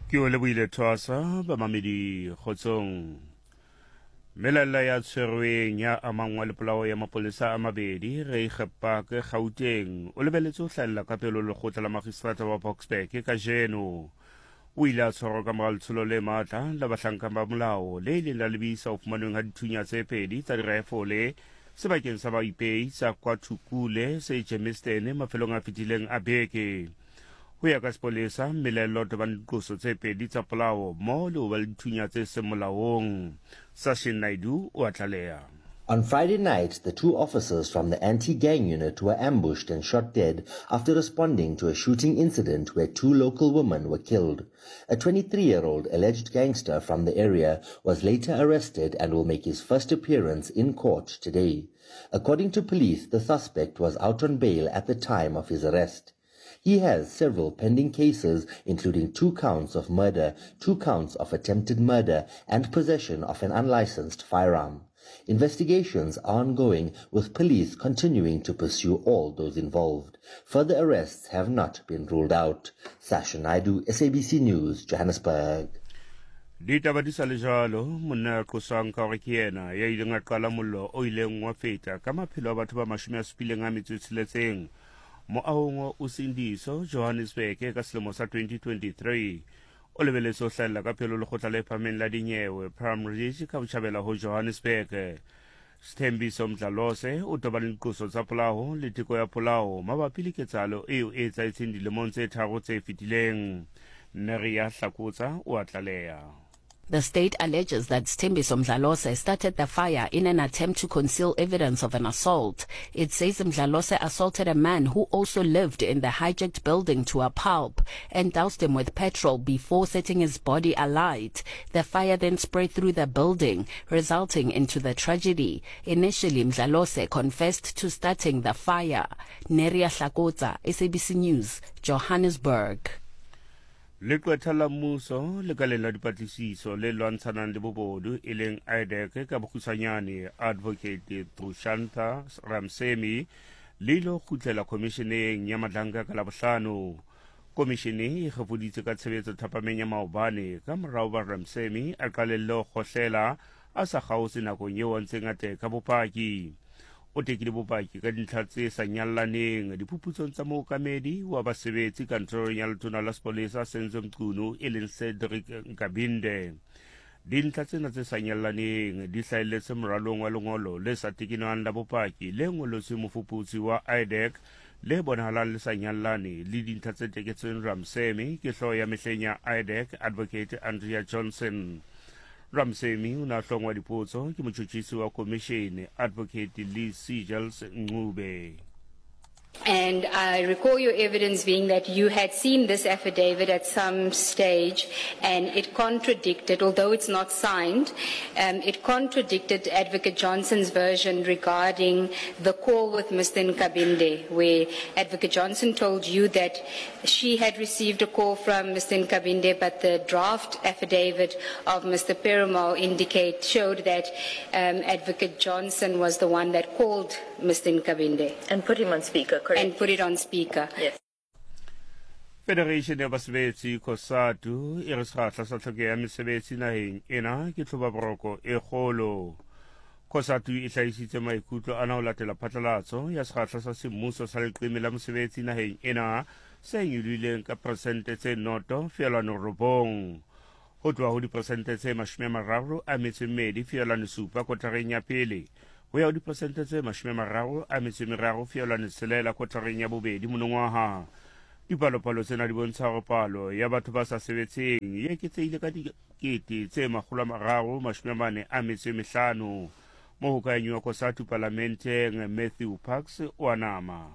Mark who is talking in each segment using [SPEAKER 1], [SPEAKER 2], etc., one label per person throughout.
[SPEAKER 1] Ke o lebohile Thwasa, bamamedi kgotsong. Melaella ya tshwerweng ya amangwa le polao ya mapolesa a mabedi Reiger Park Gauteng o lebeletse ho hlahella ka pelo lekgotla la magistrata wa Boksburg kajeno. O ile a tshwarwa ka mora letsholo le matla la bahlanka ba molao le ileng la lebisa ho fumanweng ha dithunya tse pedi tsa dirifole sebakeng sa baipei sa Kwathukule se Germiston mafelong a fetileng a beke. Ho ya ka sepolesa, mmelaello o tobane diqoso tse pedi tsa polao mmoho le ho ba le dithunya tse seng molaong. Sashin Naidoo o a tlaleha.
[SPEAKER 2] On Friday night, the two officers from the anti-gang unit were ambushed and shot dead after responding to a shooting incident where two local women were killed. A 23-year-old alleged gangster from the area was later arrested and will make his first appearance in court today. According to police, the suspect was out on bail at the time of his arrest. He has several pending cases, including two counts of murder, two counts of attempted murder, and possession of an unlicensed firearm. Investigations are ongoing, with police continuing to pursue all those involved. Further arrests have not been ruled out. Sasha Naidu, SABC News, Johannesburg.
[SPEAKER 1] Ditaba di sa le jwalo, monna ya qoswang ka hore ke yena ya ileng a qala mollo o ileng wa feta ka maphelo a batho ba mashome a supileng a metso e tsheletseng moahong wa Usindiso, Johannesburg ka selemo sa 2023. O lebeletse ho hlahella ka pelo lekgotla le phahameng la dinyewe Palm Ridge ka botjhabela ho Johannesburg. Sthembiso Mdlalose o tobane le diqoso tsa polao le teko ya polao mabapi le ketsahalo eo e etsahetseng dilemong tse tharo tse fetileng. Neria Hlakotsa o a tlaleha.
[SPEAKER 3] The state alleges that Sthembiso Mdlalose started the fire in an attempt to conceal evidence of an assault. It says Mdlalose assaulted a man who also lived in the hijacked building to a pulp and doused him with petrol before setting his body alight. The fire then spread through the building, resulting into the tragedy. Initially, Mdlalose confessed to starting the fire. Neria Hlakotsa, SABC News, Johannesburg.
[SPEAKER 1] Leqwetha la mmuso lekaleng la dipatlisiso le lwantshanang le bobodu e leng IDAC ka bokgutshwanyane Advocate Drushantha Ramsemi le ilo kgutlela khomisheneng ya Madlanka ka Labohlano. Komishene e kgefoditse ka tshebetso thapameng ya maobane ka morao ba Ramsemi a qalelle ho kgohlela a sa kgaotse nakong eo a ntseng a teka bopaki. O tekile bopaki ka dintlha tse sa nyallaneng diphuputsong tsa mookamedi wa basebetsi kantorong ya letona la sepolesa Senzo Mchunu e leng Cedric Nkabinde. Dintlha tsena tse sa nyallaneng di hlahelletse moralong wa lengolo le sa tekenwang la bopaki le ngolotsweng mofuputsi wa IDAC le bonahalang le sa nyallane le dintlha tse teketsweng Ramsemi ke hlooho ya mehleng ya IDAC Advocate Andrea Johnson. Ramsemi o ne a hlongwa dipotso ke motšhotšhisi wa komišene Advocate Lee Seagels Ncube.
[SPEAKER 4] And I recall your evidence being that you had seen this affidavit at some stage and it contradicted, although it's not signed, um, it contradicted Advocate Johnson's version regarding the call with Mr. Nkabinde, where Advocate Johnson told you that she had received a call from Mr. Nkabinde, but the draft affidavit of Mr. Perumal indicate, showed that um, Advocate Johnson was the one that called Mr. Nkabinde.
[SPEAKER 5] And put him on speaker, correct?
[SPEAKER 4] And put it on speaker.
[SPEAKER 5] Yes.
[SPEAKER 1] Federation ya basebetsi COSATU e re sekgahla sa tlhokeho ya mesebetsi naheng ena ke tlhobaboroko e kgolo. COSATU e hlahisitse maikutlo ana ho latela phatlalatso ya sekgahla sa semmuso sa leqeme la mosebetsi naheng ena se nyolohileng ka peresente tse noto feelwane robong ho tloha ho diperesente tse 32.7 kotareng ya pele ho ya ho diperesente tse 33.6 kotareng ya bobedi monongwaha. Dipalopalo tsena di bontsha hore palo ya batho ba sa sebetseng e eketsehile ka dikete tse 345. Mohokahanyi wa COSATU palamenteng Matthew Parks o a nama.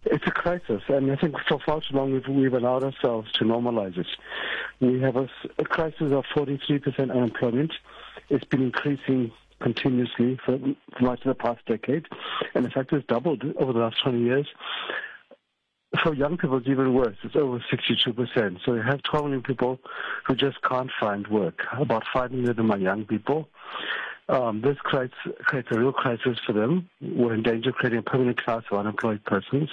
[SPEAKER 6] It's a crisis, and I think for far too long we've, we've allowed ourselves to normalize it. We have a, a crisis of 43% unemployment. It's been increasing continuously for, for much of the past decade, and in fact, it's doubled over the last 20 years. For young people, it's even worse. It's over 62%. So you have 12 million people who just can't find work. About 5 million of them are young people. Um, this creates, creates a real crisis for them. We're in danger of creating a permanent class of unemployed persons.